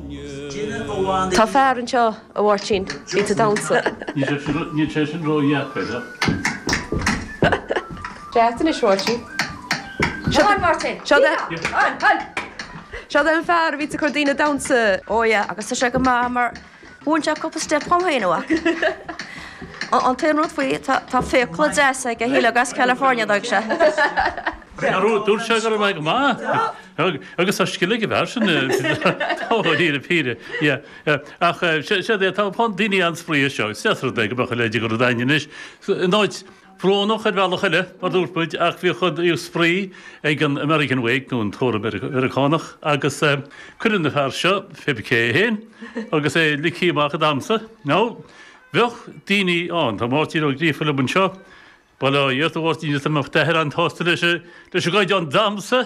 Tá fear anseo, a Mháirtín, bíonn ag damhsa. Níl sé sin ró-dheacair, a. Ceart anois, Mháirtín. Come on, Máirtín. Seo é an fear a bhíonns ag cur daoine ag damhsa. Ó yeah, agus tá sé go maith mar mhúin sé cúpla step dhom féin, a mhac. An t-aon rud faoi, tá fiacla deasa aige, shílfeá gur as California a d'fhág sé. Dúirt sé go raibh mé go maith. Agus tá scil ag an bhfear sin, dáiríre píre. Yeah. Ach séard é, tá daoine an-spraoi anseo. Is deas rud é go mbeadh a leithéid de rud againn anois. In áit bhrónach ar bhealach eile, mar dúirt muid, ach bhíodh spraoi ag an American Wake nó an tórramh Meiriceánach agus cuireadh an fear seo, pé cé é féin, agus é ligthe amach ag damhsa. Now, bheadh daoine ann, tá Máirtín Ó Gríofa liom anseo, Bail ó Dhia ort a Mháirtín, is an mbeadh d'athair an-tsásta leis an gcaighdeán damhsa?